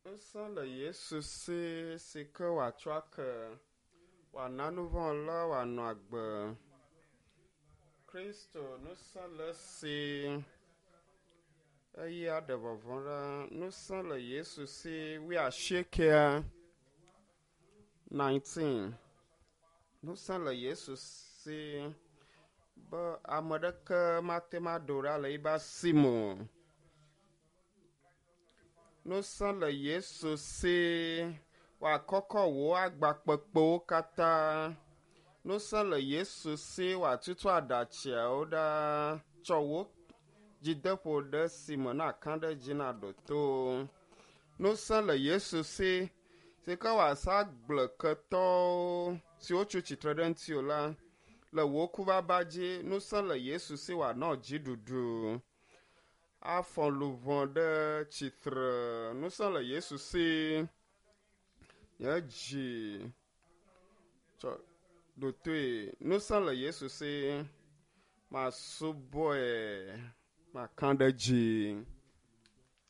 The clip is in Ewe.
Ŋusẽ le Yesu si si ke wòatsɔ ake, wòana nuvɔ̃wɔla wòanɔ agbe. Kristo ŋusẽ le esi eye aɖe vɔvɔ̃ ɖa. Ŋusẽ le Yesu si wuiasiekɛa, 19. Ŋusẽ le Yesu si be ame ɖeke mate ŋu aɖo ɖa le eƒe asi me o. Ŋusẽ le Yesu si wòakɔkɔ wò agba kpekpewo katã. Ŋusẽ le Yesu si wòatutu aɖatsiawo ɖa. Tsɔ wò dzideƒo ɖe si me nàka ɖe edzi nàɖo to. Ŋusẽ le Yesu si si ke wòasa agble ketɔwo siwo tso tsitre ɖe ŋutiwò la le wò kuvava dzi. Ŋusẽ le Yesu si wòanɔ dziɖuɖu. Afɔ luʋɔ ɖe tsitre. Ŋusẽ le Yesu si. Nye dzi tsɔ ɖo toe. Ŋusẽ le Yesu si. Masubɔe. Maka ɖe edzi.